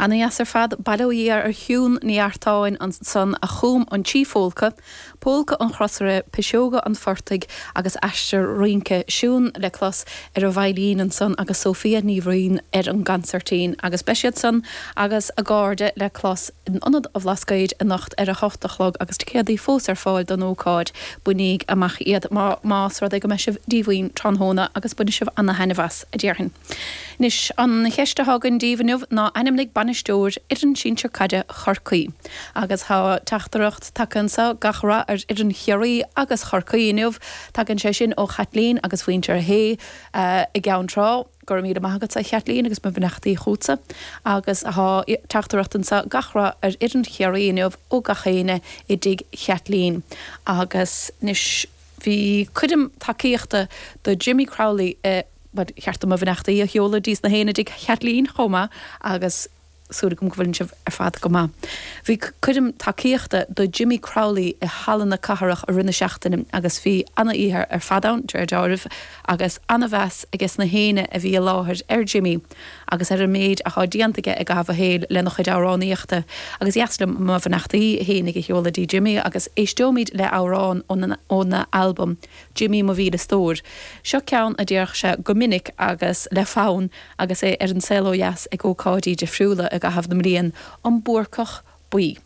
Ana-dheas ar fad. Bail ó Dhia ar Shiún Ní Artáin ansan a chum an tSíphólca, Pólca an Chrosaire, Piseoga an Phortaigh agus Aistear Rince. Siún le clos ar an veidhlín ansan agus Sophia Ní Bhraoin ar an gcansairtín. Agus beidh siad san agus a gcairde le clos in Ionad an Bhlascaoid anocht ar a hocht a chlog agus ticéadaí fós ar fáil don ócáid. Bainíg amach iad más rud é go mbeidh sibh díomhaoin tráthnóna agus bainfidh sibh ana-thaitneamh as, a déarfainn. Anois, an cheist atá againn daoibh inniu ná ainmnigh bainisteoir fhoireann sinsir caide Chorcaí. Agus tá teachtaireacht tagtha anseo, gach rath ar fhoireann Chiarraí agus Chorcaí inniu. Tagann sé sin ó Chaitlín agus mhuintir Shé i gCeann Trá. Go raibh míle maith agatsa a Chaitlín agus mo bheannachtaí chugatsa. Agus tá teachtaireacht anseo, gach rath ar fhoireann Chiarraí inniu ó gach éinne i dtigh Chaitlín. Agus anois bhí coirm tacaíochta do Jimmy Crowley i. Ba cheart dom mo bheannachtaí a sheoladh dtí na héinne i dtigh Chaitlín chomh maith agus súil agam go bhfuileann sibh ar fad go maith. Bhí coirm tacaíochta do Jimmy Crowley i Halla na Cathrach i rith na seachtaine agus bhí ana-oíche ar fad ann, de réir deáraimh, agus ana-mheas aige sna héinne a bhí i láthair ar Jimmy agus ar an méid athá déanta aige i gcaitheamh a shaoil lena chuid amhránaíochta. Agus dheas liom mo bheannachtaí fhéinig a sheoladh dtí Jimmy agus éisteoimid le amhrán óna albam Jimmy mo mhíle stór. Seo ceann a déarfadh sé go minic agus le fonn agus é ar an saol ó dheas ag ócáidí difriúla i gcaitheamh na mblian, An Búrcach Buí.